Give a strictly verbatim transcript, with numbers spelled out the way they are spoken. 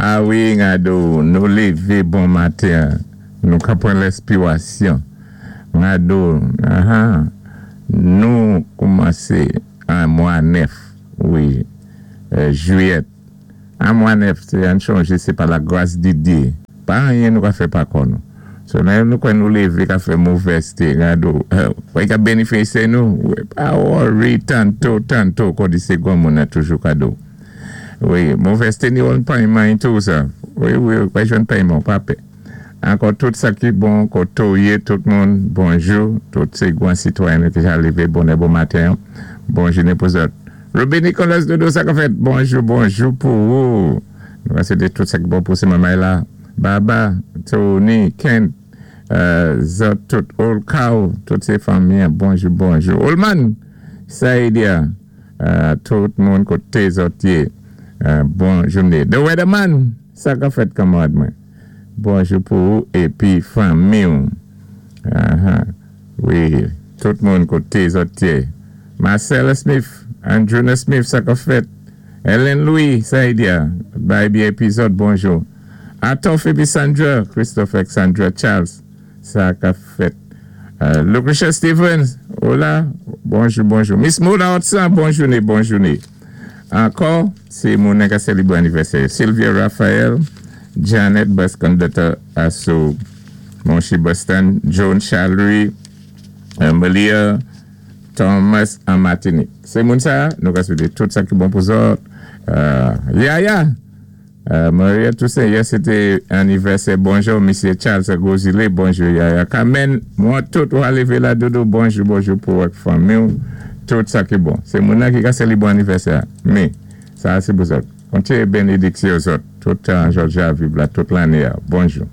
A wi, Ngado, nou lévé bon maten, nou ka pwan lenspiwasyon. Ngado, aha, nou koumansé an mwa nèf, wi, jwiyèt. An mwa nèf, sé an chonjé, sé pa la gwas di Dye. Pa anyen nou ka fè pa kò nou. So lè nou kwè nou lévé ka fè movèzté, Ngado, wè ka bénéfisyé nou, pa worry, tanto, tanto, kon di sé gwan moun an toujou kado. Wi, movèzté ni yon payman tou sa. Wi, wi, wè jwenn payman, pa pè. Ankò tout sa ki bon, koté ou yé, tout moun, bonjou, tout sé gwan sitwayen ki ja lévé bonè bon maten, bon jounen pou zòt. Ruby Nicolas Dodo, sa ka fèt, bonjou, bonjou pou ou. Nou va swété tout sa ki bon pou sé mamay la. Baba, Tony, Kent, zòt tout, Old Cow, tout sé fanmi, bonjou, bonjou. Oldman, Saïdia, tout moun koté zòt yé, bon jounen. The Weatherman, sa ka fèt kanmarad mwen. Bonjou pou ou, épi fanmi ou. Wi, tout moun koté zòt yé. Marcella Smith, Andrewna Smith, sa ka fèt. Ellen Louis, Saïdia, bay bi epizòd, bonjou. Atof épi Sandra, Christopher Sandra Charles, sa ka fèt. Lucretia Stevens, hola, bonjou, bonjou. Miss Mona Hudson, bon jounen, bon jounen. Ankò, sé moun ka sélébré anivèsè. Sylvia Raphael, Janet bus conductor aso Monchi Boston, Joan Charlery, Malia Thomas an Martinique. Sé moun sa, nou ka swété tout sa ki bon pou zòt. Yaya, Maria Toussaint, yè sé té anivèsè, bonjou, Misye Charles Gozile, bonjou Yaya. Carmen, mwen tout wè lévé la dodo, bonjou, bonjou pou wèk fanmi ou, tout sa ki bon. Sé moun nan ki ka sélébré anivèsè. Mé, sa sé pou zòt. Kontiné bénédiksyon zòt, tout an Georgia viv la, tout lanné, bonjou.